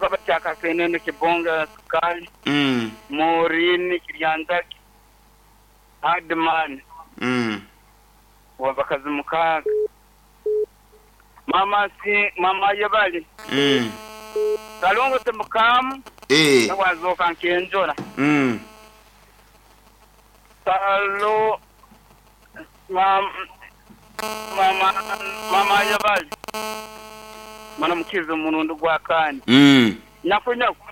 Kaba kya Kasenene Kibonge Sukali, Maureen Kiryanzagi, Hardman, Ow'abakazi mukaaga, Maama Maama Ayebare, Kalongo Timukaamu, nawe azooka nk'enjura, Kalo Maama Ayebare, Mana Mukiza omurundi gwa kaana, Nyaku Nyaku.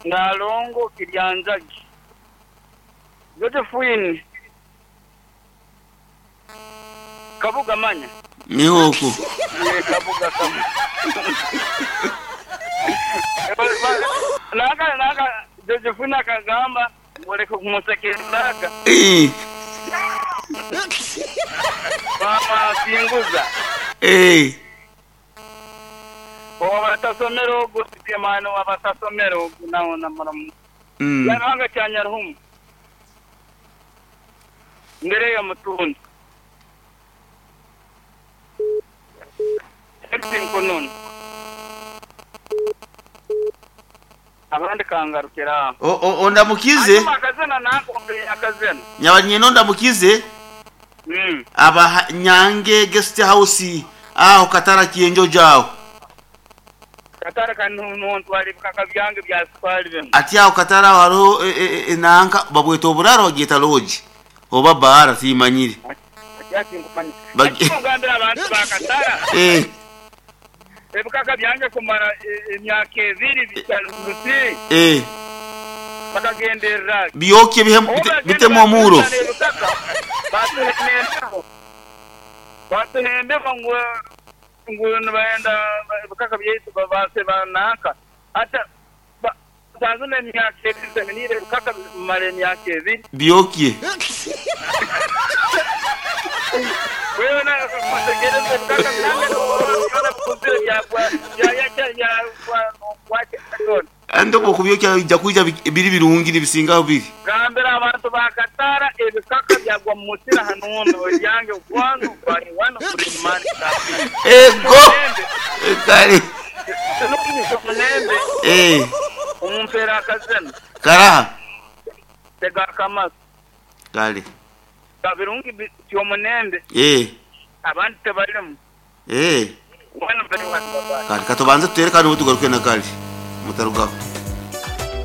Nalongo Kiryanjagi, Josephine Kabuga manya. Niho okwo. Yee Kabuga Kabuga. Nanka nanka Josephine akagamba ngu oreke kumusekereraga. Eeh. Maama Singuza. Eeh. Owaba atasomere ogu Mani owaba atasomere ogu nawe namuramu. Nyaruhanga kya Nyaruhumu Ndereya Mutundu Felix Nkununu Abandi kangarukire aho. Ondamukize. Hanyuma akazina nanka ompe akazina. Nyaba nyine ondamukize. Aba Nyange Guest House aho Katara Kienjojo aho. Katara ka nontwara ebikaka byange bya sukali binu. Ati aho Katara aho hariho enanka babweta oburaro bagyeta lodge oba baara timanyire. Ati ati nkumanya. Ati ongambire abantu ba Katara. Ebikaka byange kumara emyaka ebiri bikyari omu nsi. Bakagenderera ki? Byokye bitemu omuuro. Ebikaka batuhemba embeho, batuha embeho ngu ngu nibenda ebikaka byaitu babaase bananka. Hati sanzino emyaka ebiri nsemeniire ebikaka bimara emyaka ebiri. Byokye. Weena otegereze ebikaka byange byona bikuzire byagwa byayakya byagwa nokwakya byona. Kandi obwo okubyokya biija kwija biri birungi nibisinga ahu biri. Gambira abantu ba Katara ebikaka byagwa mu musiri hanundo ebyange gwanu gwari wanu guri mani kafiri. Ego! Kare. Tinokugisa omulembe Eh. omumpere akazina. Karaha. Tega akamasu. Kare. Kabirungi ti omunembe. Eh. Abandi tebarimu. Eh. Wanu bari wanu babayi. Kare katubanze tutere kandi obu tugaruke na kare. Mutarugaho.